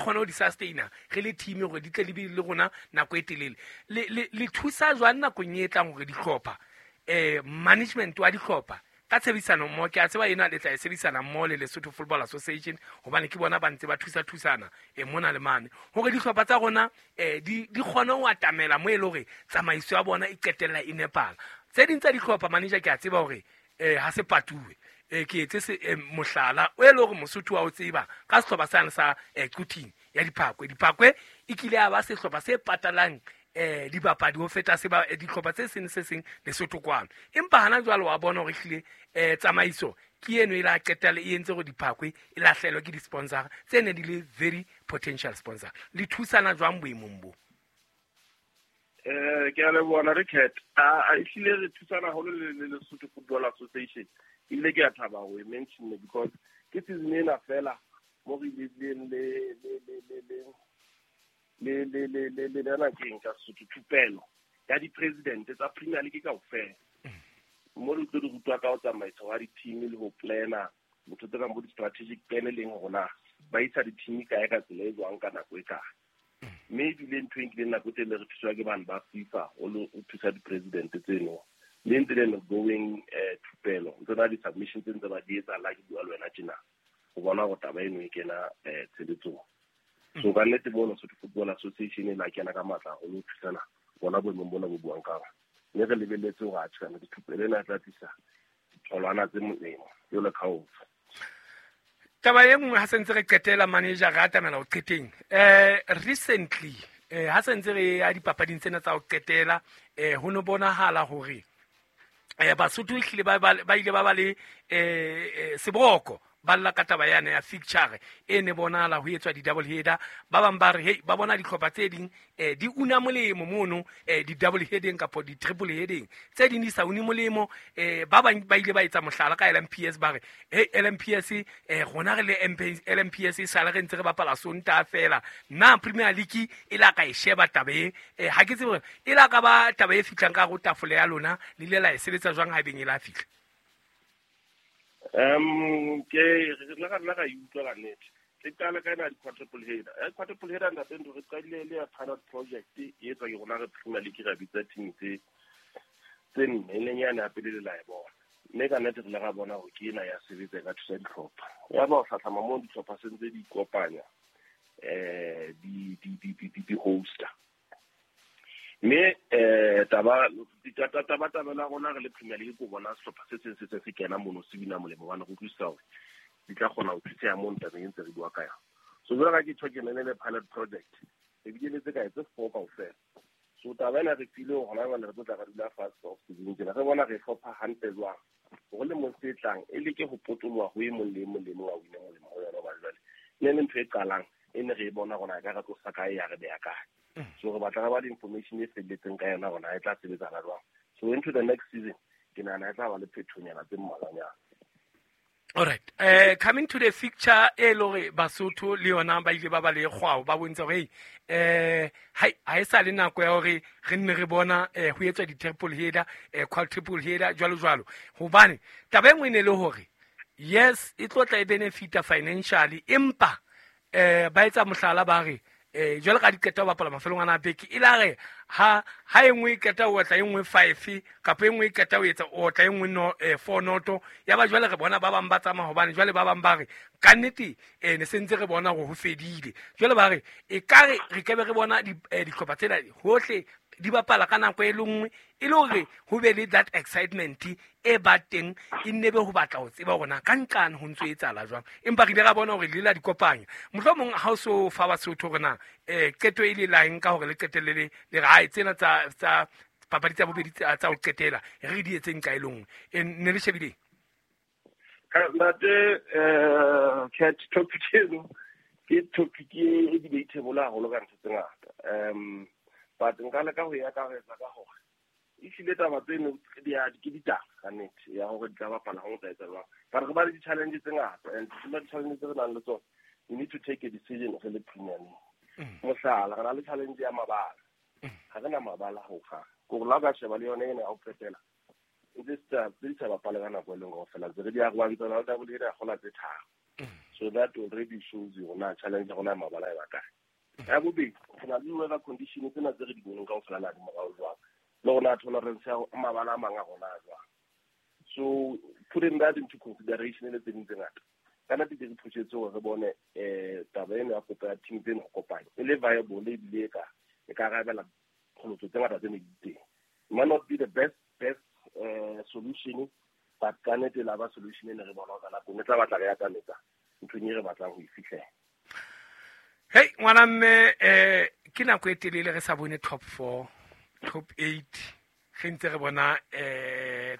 kgone ho di sustaina re le team hore di tle di be le rona nako e telele. Le thusa jwang nakong e tlang hore dihlopha, management wa dihlopha ka tshebedisano mmoho, ke a tseba ena le tla e sebedisana mmoho le Lesotho Football Association, hobane ke bona ba ntse ba thusa-thusana mona le mane, hore dihlopha tsa rona di kgone ho atamela mo e le hore tsamaiso ya bona e qetella e nepahala. Tse ding tsa dihlopha, manager, ke a tseba hore ha se patuwe, ke etse mohlala o e le hore Mosotho wa o tseba ka sehlopha sane sa Quthing ya Diphakwe. Diphakwe e kile ya ba sehlopha se patalang dibapadi ho feta se ba dihlopha tse seng se seng Lesotho kwano, empa hana jwale wa bona hore ehlile tsamaiso ke eno e la qetella e entse hore Diphakwe e lahlehelwe ke di-sponsor tse ne di le very potential sponsor. Le thusana jwang boemong bo? Ke a leboha, Richard. A ehlile re thusana haholo le Lesotho Football Association. Ebile ke a thaba ho e mention because ke season ena fela mo re ileng le lena keng ka Sesotho, thupelo ya di-president tsa Premier League kaofela, mo re tlo di rutwa ka ho tsamaisa wa di-team le ho plana ntho tse kang bo di-strategic plan, e leng hore na ba isa di-team kae ka tsela e jwang ka nako e kae. Mme ebile ntho e nkileng nako e telele, re thuswa ke bane ba FIFA o le o thusa di-president tseno, mme ntse le going thupelo ntse na di-submission tse ntse ba di etsa la ke bua le wena tjena ho bona hore taba eno e kena tshebetsong. So ka nnete mono Lesotho Football Association e la kena ka matla haholo ho thusana bona boemong bona bo buang ka bona, mme re lebelletse hore atjhe, kana dithupelo ena e tla tlisa ditholwana tse molemo jwalo ka ofa. Taba e nngwe, ha se ntse re qetela, manager, re atamela ho qeteng, recently ha se ntse re ya dipapading tsena tsa ho qetela, ho no bonahala hore Basotho ehlile ba ile ba le seboko, ba lla ka taba yane ya fixture e ne bonahala ho etswa di-double header. Ba bang ba re hey, ba bona dihlopha tse ding di una molemo mono di-double heading kapo di-triple heading, tse ding di sa une molemo. Ba bang ba ile ba etsa mohlala ka LMPS, ba re hey, LMPS, rona re le LMPS e sale re ntse re bapala Sontaha fela. Na Premier League e la ka e sheba taba e? Ha ke tsebe hore e la ka ba taba e fihlang ka hare ho tafole ya lona, le ile la e sebetsa jwang ha ebeng e la fihla? Ke re le ka nna ka e utlwa ka nnete. Ke qale ka ena di-quadruple header. Ya quadruple header, ntate Ntho, re qadile le ya pilot project e etswa ke rona re Premier League, ra bitsa team tse nne, e leng yane ya pele le la e bona, mme ka nnete re ile ra bona hore ke ena ya sebetsa, e ka thusa dihlopha. Ya ba ho hlahlama moo dihlopha se ntse di ikopanya, di hosta, mme taba la rona re le Premier League ko bona sehlopha se seng se seng se kena mono se wina molemo, hobane re utlwisisa hore di tla kgona ho thuseha mono tabeng e ntse re bua ka yona. So jwalo ka ke tjho, ke ne le pilot project e bile le tse kae, tse four kaofela. So taba ena re file hore hona jwale re tlo tla re dula fatshe off season tjena, re bona re hlopha hantle jwang hore le mong se tlang e leke ho potoloha ho e mong le e mong le e mong a wine molemo ho yona, hobane jwale ne le ntho e qalang e ne re e bona rona e ka re tlosa kae ya re beya kae. So re batla re ba le information e felletseng ka yona rona e tla sebetsana jwang. So into the next season ke nahana e tla ba le phethonyana tse mmalwanyana. Alright, coming to the fixture e le hore Basotho le yona ba ile ba ba le kgwao, ba bontsha hore hey, ha e sa le nako ya hore re nne re bona ho etswa di-triple header, quadruple header, jwalo jwalo, hobane taba e nngwe e ne le hore yes, e tlo tla e benefita financially, empa ba etsa mohlala, ba re jwale ka di qeta ho bapala mafelong ana a beke, e la re ha e nngwe e qeta ho otla e nngwe five, kapa e nngwe e qeta ho etsa otla e nngwe no, four noto, ya ba jwale re bona ba bang ba tsamaya, hobane jwale ba bang ba re ka nnete ne se ntse re bona hore ho fedile. Jwale ba re e ka re re kebe re bona dihlopha tsena hohle di bapala ka nako e le nngwe, e le hore ho be le that excitement e ba teng, e nne be ho batla ho tseba hore na ka nqane ho ntso etsahala jwang. Empa re ile ra bona hore le la di kopanya. Mohlomong ha o so fa Basotho hore na qeto e le laeng ka hore le qetelle le re hai tsena tsa papadi tsa bobedi tsa ho qetela re di etseng ka e le nngwe, ne le shebileng? Ntate Cat, topic eno ke topic e debatable haholo ka ntho tse ngata, but nka leka ho e akaretsa ka hore ehlile taba tseno ke ditaba ka nnete ya hore di tla bapala ha o tla etsa jwang, but re ba le di-challenge tse ngata, and tsena di-challenge tse re nang le tsona, we need to take a decision re le Premier League. Mohlala, re na le challenge ya mabala, ha re na mabala ho kgang kore la o ka sheba le yona ena ya ho qetela ntse tse di sa bapale ka nako e leng kaofela, ntse re di arolantse na le double header ya kgola tse tharo. So that already shows you na challenge rona mabala e ba kae. Ya bobedi, re na le weather condition tsena tse re di boneng kaofela na di morao jwang, le rona tolerance ya mabala a mang a rona a jwang. So putting that into consideration le tse ding tse ngata, ka nnete di re phusetse hore re bone taba eno ya kopo ya team tseno ho kopanya e le viable ebile e ka arabela qholotso tse ngata tse ne di teng. It might not be the best solution, but ka nnete la ba solution e ne re bona ka nako e tla batla re atametsa nthong e re batlang ho e fihlela. Hey ngwana mme, ke nako e telele re sa bone top 4, top 8, re ntse re bona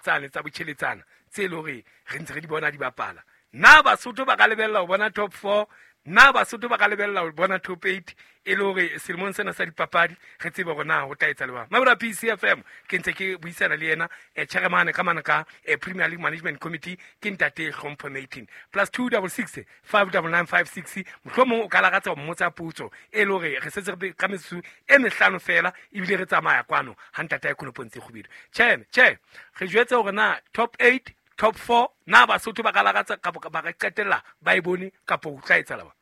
tsane tsa botjheletsana tse le hore re ntse re di bona di bapala. Na Basotho ba ka lebella ho bona top 4, na Basotho ba ka lebella ho bona top 8 e le hore selemong sena sa dipapadi re tsebe hore na ho tla etsa le bang. Mabura PCFM ke ntse ke buisana le yena chairman ka mana ka Premier League Management Committee ke ntate Hlompho Matin +266 59956. Mohlomong o ka lakatsa ho mmotsa potso e le hore re setse re ka metsotso e mehlano fela ebile re tsamaya kwano ha ntate a Konopong tse kgubedu. Che re jwetse hore na top 8, top 4 na Basotho ba ka lakatsa kapa ba ka qetella ba e bone kapa ho tla etsahala ba?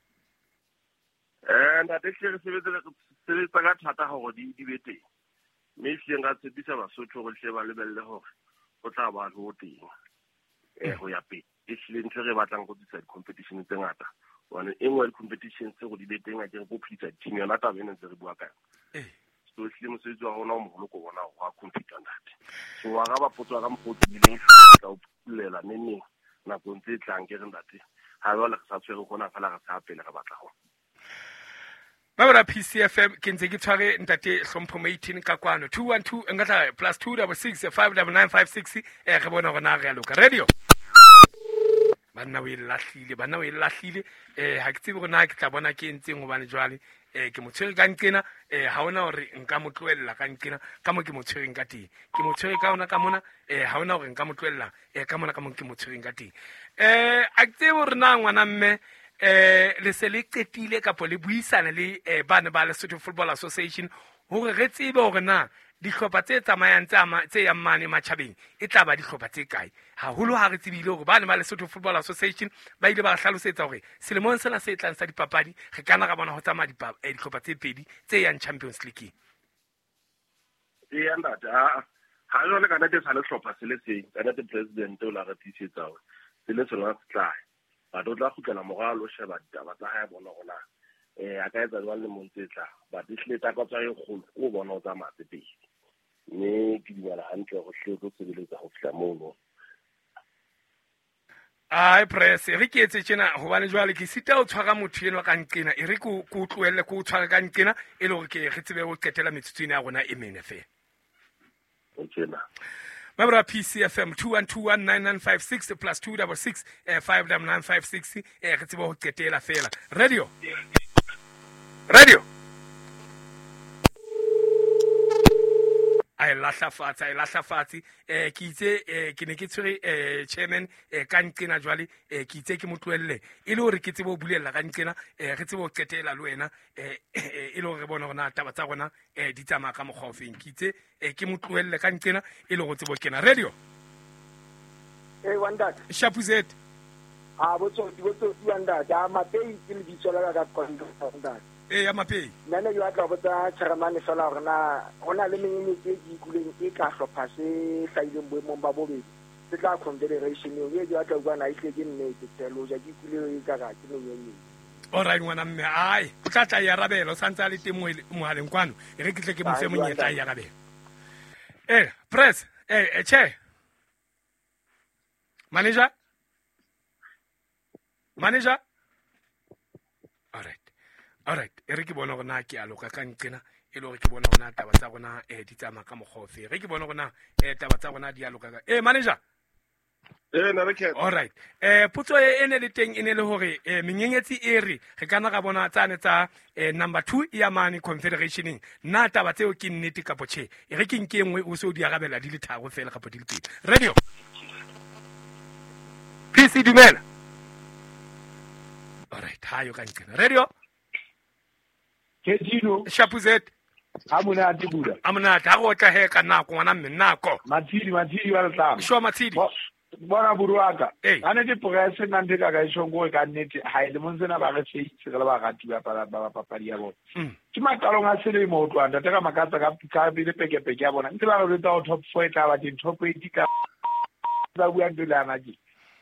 Ntate hle re sebetsa ka thata hore di be teng. Mme ehlile nka tshepisa Basotho hore hle ba lebelle hore ho tla ba ho teng ho ya pele. Ehlile ntho e re batlang go tlisa di-competition tse ngata. Hobane e nngwe ya di-competition tse go di be teng a ke re ko phedisa di-team yona taba ena ntse re bua ka yona. So ehlile mosebetsi wa rona o moholo ko bona hore wa compete ntate. So wa araba potso ya ka mokgwa o tiileng, ehlile ke tla o phuthollela neneng nakong tse tlang ke re ntate. Ha jwale re sa tshwere hona fela re sa pele re batla hona. Mabura PCFM ke ntse ke tshware ntate Hlompho Matin ka kwano 212 nka tla +266 59956 re bona hore na re a loka. Radio banna o e lahlile, ha ke tsebe hore na ke tla bona ke entseng hobane jwale ke mo tshwere ka nqena, ha hona hore nka mo tlohella ka nqena ka mo ke mo tshwereng ka teng, ke mo tshwere ka hona ka mona, ha hona hore nka mo tlohella ka mona ka mo ke mo tshwereng ka teng. A ke tsebe hore na ngwana mme le se le qetile kapa le buisana le bana ba Lesotho Football Association hore re tsebe hore na dihlopha tse tsamayang tse yang mane matjhabeng e tla ba dihlopha tse kae. Haholo ha re tsebile hore bana ba Lesotho Football Association ba ile ba hlalosetsa hore selemong sena se tlang sa dipapadi re kana ra bona ho tsamaya dihlopha tse pedi tse yang Champions League. Eya ntate, ha jwale ka nnete sa le hlopha se le seng, ka nnete president o la re tiisetsa hore se le sona se tla. But o tla kgutlela morao lo sheba ditaba tsa hae bona hore na a ka etsa jwang lemong tse tlang. But ehlile takatso e kgolo ke ho bona o tsamaya tse pedi. Mme ke dumela hantle hore hle o tlo sebeletsa ho fihla mono. Ai press, re ke etse tjena hobane jwale ke sita ho tshwara motho enwa ka nqena, e re ke o tlohelle ke o tshware ka nqena e le hore ke re tsebe ho qetela metsotso ena ya rona e mene feela. Tjena. Mabura PCFM 21219956 +266 59956 re tsebe ho qetela feela. Radio. A e lahla fatshe, ke itse ke ne ke tshwere chairman ka nqena jwale, ke itse ke mo tlohelle e le hore ke tsebe ho bulela ka nqena, re tsebe ho qetela le wena, e le hore re bone hore na taba tsa rona di tsamaya ka mokgwa ofeng. Ke itse ke mo tlohelle ka nqena e le hore tsebe ho kena. Radio. Wanda. Shapuzet. Botsotsi Wanda. Ja Mapei ke lebitso la ka ka Wanda. Ya Mapei. Nna ne ke batla ho botsa chairman fela hore na hona le menyenyetsi e ke ikutlweng e ka hlopha se hlahileng boemong ba bobedi se tla confederation eo e ke batla ho bua na ehlile ke nnete tshelo ja ke ikutlwe e ka ra ke menyenyetsi. All right ngwana mme, ai o tla tla e arabela o santse a le teng mohaleng kwano, e re ke tle ke mo fe monyetla e arabela. Press, che. Manager? All right, e re ke bona hore na ke a loka ka nqena e le hore ke bona hore na taba tsa rona di tsamaya ka mokgwa ofe. Re ke bona hore na taba tsa rona di a loka ka. Manager. Na re ke. All right. Potso e ne le teng e ne le hore menyenyetsi e re re kana ra bona tsane tsa number 2 ya mane confederationeng. Na taba tseo ke nnete kapo tjhe? E re ke nke nngwe o se o di arabela di le tharo fela kapo di le pedi. Radio. PC dumela. All right, ha yo ka nqena. Radio. Ketino. Shapuzet. Ha monate bula. A monate ha go tla he ka nako ngwana mme nako. Matshidi wa letlama. Sho Matshidi. Bona buruaka a ne ke press nna ntho ka ka tjhong gore ka nnete ha ile mong tsena ba re feitse re le barati ba ba papadi ya bona. Ke maqalong a selemo ho tloha ntate ka makatsa ka pele pekepeke ya bona. Ntse ba re jwetsa ho top 4 e tla ba teng, top 8 ka ba bua ntho le ana ke.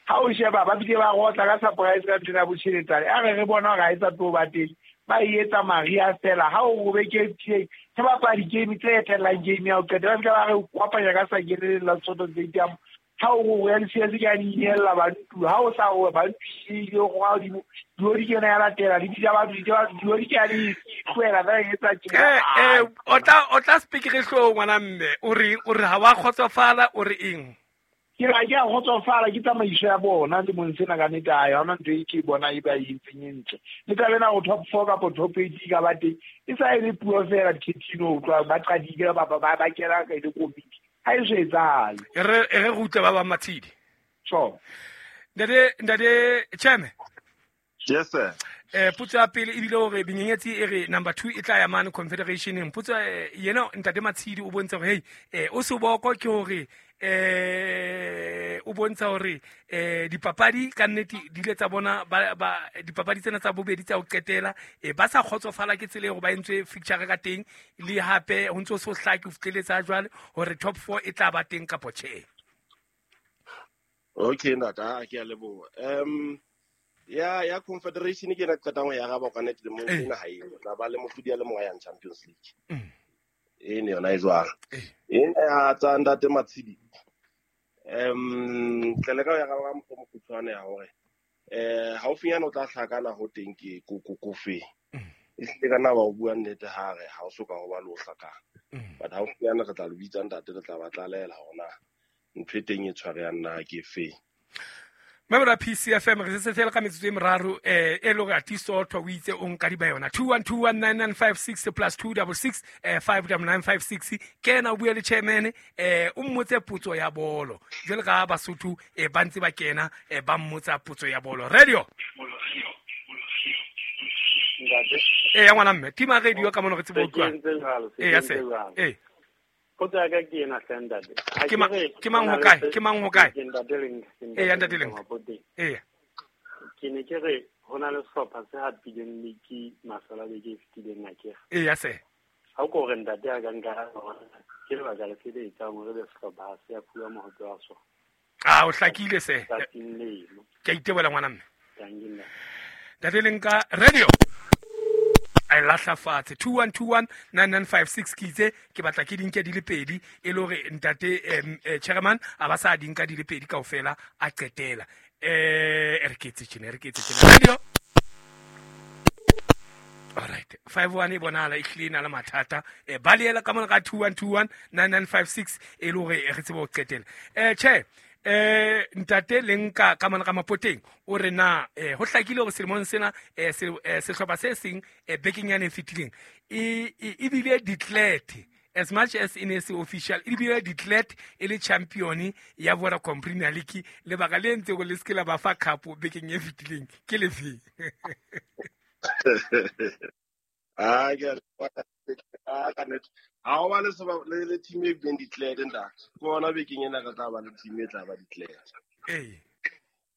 Ha o sheba ba bile ba rotla ka surprise ka ntho ya botjheletsane. A re re bona hore ha e sa tlo ba teng. Ba e etsa maria fela ha o robe ke ke bapala di-game tse etellang game ya ho qeta ba fihla ba re kopanya ka sa kene la Soto Stadium. Ha o re ya di ke a di inella bantu ha o sa o bantu ile go ga di di kena ya latela di bitsa batho di ke a di tlohela ba etsa tjena. O tla speak re hlo ngwana mme o re ha wa kgotsofala o re eng? Ke ra ke a kgotsofala ke tsamaiso ya bona le mong sena ka nnete ha yona ntho e ke bona e ba e entseng e ntle. Le taba ena ho top 4 kapa top 8 ka ba teng e sa e le puo fela Ketino o tloha ba qadile ba kena ka le komiti. Ha e so etsahale. E re rutle ba ba Matshidi. Sure. Ntate Chairman. Yes sir. Potso ya pele ebile hore benyenyetsi e re number 2 e tla ya mane Confederation. Potso yena ntate Matshidi o bontsha hore hey o seboko ke hore o bontsha hore dipapadi ka nnete di ile tsa bona ba dipapadi tsena tsa bobedi tsa ho qetela ba sa kgotsofala ke tsela e hore ba entswe fixture ka teng le hape ho ntso so hlake ho fihleletsa jwale hore top 4 e tla ba teng kapo tjhe. Okay ntate, ke a leboha. Ya Confederation ke na qetang ho ya araba ka nnete le mong ena ha e tla ba le mohlodi ya le mong ya Champions League. E ne yona e jwang. Ena ya tsa ntate Matshidi. Tle le ka ya ka mokgwa mokgutshwane ya hore haufinyana o tla hlakana ho teng ke kofe. E hlile ka na ba o bua nnete ha re ha o soka ho ba le o hlakana. But haufinyana re tla le bitsa ntate re tla ba tlalela hore na ntho e teng e tshwarehang na ke fe. Memora PCFM re se fela ka metsotso e meraro e le hore Atiso o itse o nka di ba yona 21219956 plus 266 59956 kena o bua le chairman o mmotse potso ya bolo jwale ka Basotho ba ntse ba kena ba mmotsa potso ya bolo. Radio ya ngwana mme tima radio ka mono re tsebe utlwa ya se Potso ya ka ke ena hle ntate. Ke mang ho kae? Ke mang ho kae? Ya ntate Leng. Ke ne ke re ho na le sehlopha se hapileng league mafelo a beke e fetileng akere. Ya se. Ha o ko re ntate a ka nka ke lebaka le fe le etsang hore be sehlopha se ya fuwa mohope wa sona. Ah, o hlakile se. Ke a itebola ngwana mme. Ntate Leng ka radio. A lahla fatshe 21219956 ke itse ke batla ke dinke di le pedi e le hore ntate chairman a ba sa dinka di le pedi kaofela a qetela re ke etse tjena radio. All right 51 e bonahala e hlile na le mathata ba leela ka mona ka 21219956 e le hore re tsebe ho qetela che ntate Lenka ka mona ka Mapoteng o re na ho hlakile hore selemong sena sehlopha se seng bekeng yane e fetileng e bile declared as much as in se official e bile declared e le champion ya Vodacom Premier League lebaka le ntse go le se la ba fa cup bekeng e fetileng ke lefe? Ha o ba le team e been declared ntate. Ke ona bekeng ena re tla ba le team e tla ba declared.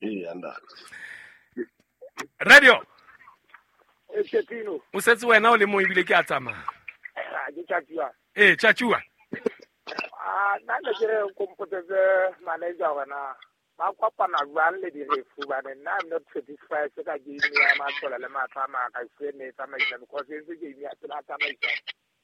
Ee ntate. Radio. Ketino. O setse wena o le mong ebile ke a tsamaya. Ke tjatjua. Tjatjua. Nna ne ke re nkompotetse manager hore na ba kopana jwang le direfu bane nna I'm not satisfied ka game ya Matsola le matla a maka e ne tsamaisa because e ntse game ya pela tsamaisa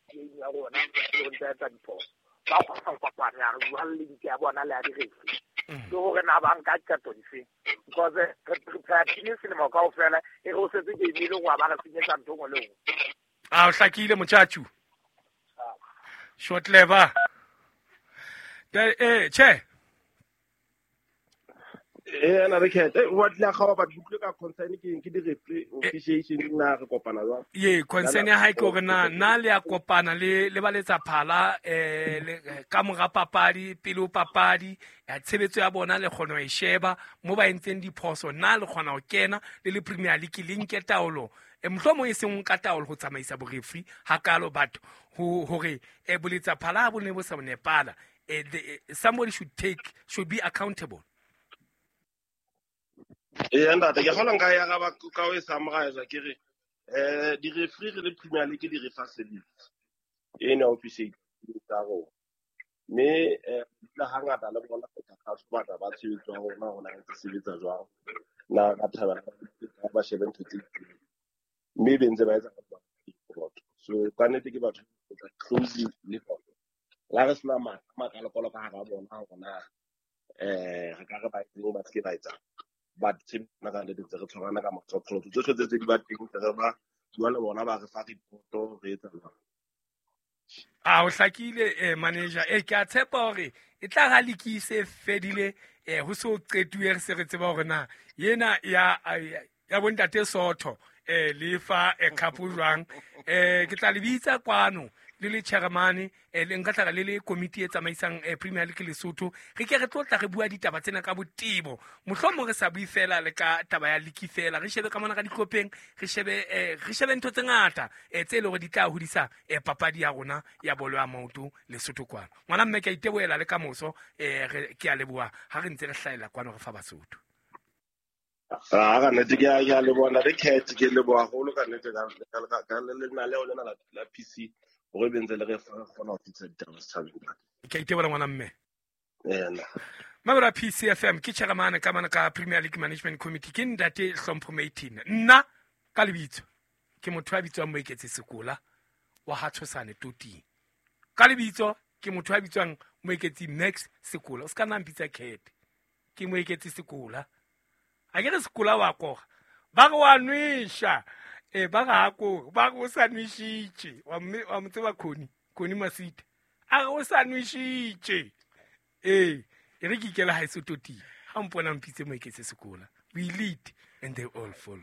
game ya rona le ho ntse etsa diphoso. Ba kgona ho kopana jwang le ntse ya bona le ya direfu. Ke hore na ba nka qeto dife because re prepare team selemo kaofela e re o setse game e le go ba re senyetsa ntho nngwe le nngwe. A o hlakile motjatju. Short lever. Che. Na re khethe wa tla ga ba utlwe ka concern ke di referee officiation na re kopana jwang? Ye concern ya hae ke hore na le ya kopana le ba letsa phala ka mora papadi pele o papadi ya tshebetso ya bona le kgona ho e sheba mo ba entseng diphoso na le kgona ho kena le Premier League le nke taolo mohlomong e seng ka taolo ho tsamaisa bo-referee hakalo batho hore boletsa phala bo ne bo sa nepala somebody should be accountable. Ee ntate, ke kgolwa nka ya araba ka ho e summarize ke re di-referee re le Premier League di re fa service eno ya officiate tsa rona. Mme dula hangata le bona re tlhatlhoba ba tshebetso ya rona hore na re ntse sebetsa jwang. Na ka thabela ba shebe ntho tse itseng. Mme be ntse ba etsa ka so ka nnete ke batho ba closely le bona. La re sena makalokolo ka hara bona hore na re ka re ba etseng ba se ke ba etsang. But tshebetso ka nnete ntse re tshwarana ka matsoho. Tsohle tse di ba teng ntse re ba bua le bona ba re fa report re etsa jwang. A o hlakile manager ke a tshepa hore e tla ga league se fedile ho so qetuwe re se re tseba hore na yena ya bontate Sotho le fa cup jwang. Ke tla le bitsa kwano le le chairman le nka tla le le committee e tsamaisang Premier League Lesotho. Re ke re tlo tla re bua ditaba tsena ka botebo, mohlomong re sa bue fela le ka taba ya league fela, re shebe ka mona ka ditlhopheng, re shebe ntho tse ngata tse leng hore di tla hodisa papadi ya rona ya bolo ya maoto Lesotho kwano. Ngwana mme ke a itebohela le ka moso, ke a leboha ha re ntse re hlahella kwano re fa Basotho. Ka nnete ke a leboha ntate Cat, ke leboha haholo ka nnete ka lenaneo lena la PC hore be ntse le re fa kgona ho fihla ditaba setjhabeng. Ke a itebohela ngwana mme. Ena. Mabra PCFM ke chairman ka mana ka Premier League Management Committee ke ntate Hlompho Maitini. Nna ka lebitso ke motho a bitswang Moeketsi Sekola wa ha Tshosane Toting. Ka lebitso ke motho a bitswang Moeketsi Max Sekola. O ska nna mpitsa Cat. Ke Moeketsi Sekola. A ke re Sekola wa koga. Ba re wa nwesha. Ba ga ko ba go sa nwešitše wa mo tseba Khoni Masita a re o sa nwešitše e re ke ikela ha e sototi ha mpona mpitse Moeketsi Sekola. We lead and they all follow.